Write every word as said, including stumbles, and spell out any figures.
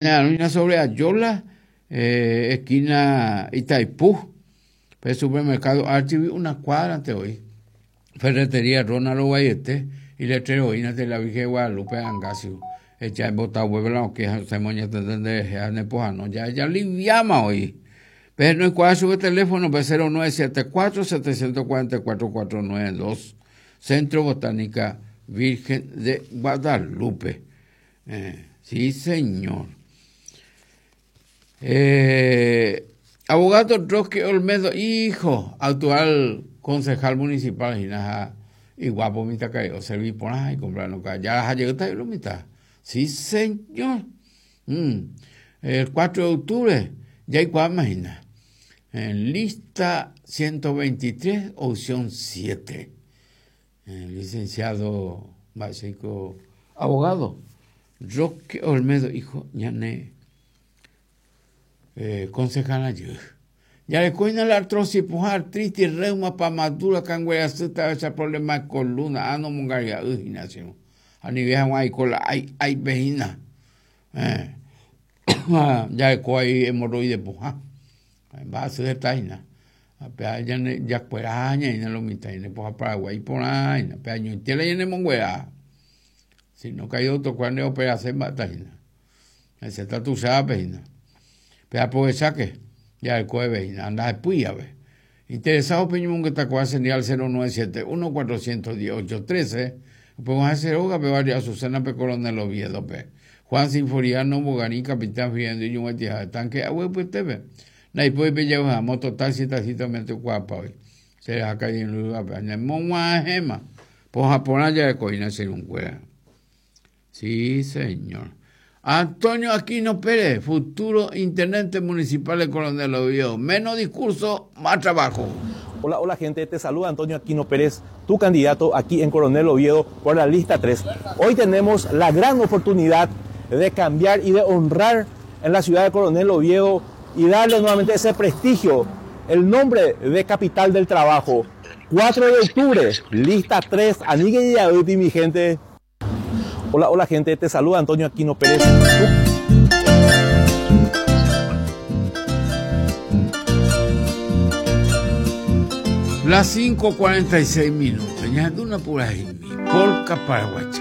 Sobre Ayola, eh, esquina Itaipú, el supermercado Archivi, una cuadra ante hoy. Ferretería Ronald Guayete y letrero de la Virgen de Guadalupe Angasio. Echa en bota huevo la que se moña tendré nepojano ya ya liviama hoy. Pero no cuál sube teléfono cero nueve siete cuatro, siete cuatro cuatro, cuatro nueve dos. Centro Botánica Virgen de Guadalupe. Eh, sí, señor. Eh, abogado Roque Olmedo, hijo, actual concejal municipal, y guapo, mitad caído, serví por ahí, comprando ya llegó lo mitad. Sí, señor. Mm. El cuatro de octubre, ya hay cuál imagina. En lista ciento veintitrés, opción siete. El licenciado básico, abogado Roque Olmedo, hijo, ñane, eh, concejal ayer. Ya le coina la artrosis, puja, artritis, reuma, pamadura, cangüeya, cita, ese problema de columna, ano, mungaria, ujina, sino. A nivel de cola, ay, ay, vejina. Eh. Ya le coa ahí hemorroide, puja. Va a ser taina. Ya ya cueraña y no lo mitad, y no puja Paraguay por ahí, pero año y tiene en monguera. Si no cae otro cuando operación mataina. Ese está tu sabes, pero aprovecha que ya el jueves anda después a ver. Interesado Peñón que está con señal cero nueve siete uno cuatrocientos dieciocho trece. Podemos hacer hoga, pero varias Azucena P. Coronel Oviedo P. Juan Sinforiano Bogarín, Capitán Fiendo y un Tanque, agua pues T V. Nay puede pedir una moto taxi, tacito mente guapa hoy. Se deja caer en lugar, pero en Monguajema. Pues Japón ya de coina ser un cuera. Sí, señor. Antonio Aquino Pérez, futuro intendente municipal de Coronel Oviedo. Menos discurso, más trabajo. Hola, hola gente, te saluda Antonio Aquino Pérez, tu candidato aquí en Coronel Oviedo por la lista tres. Hoy tenemos la gran oportunidad de cambiar y de honrar en la ciudad de Coronel Oviedo y darle nuevamente ese prestigio, el nombre de capital del trabajo. cuatro de octubre, lista tres, Anigue y Yaduti, mi gente. Hola, hola gente, te saluda Antonio Aquino Pérez. Las cinco cuarenta y seis minutos, ya de una pura polca paraguaya.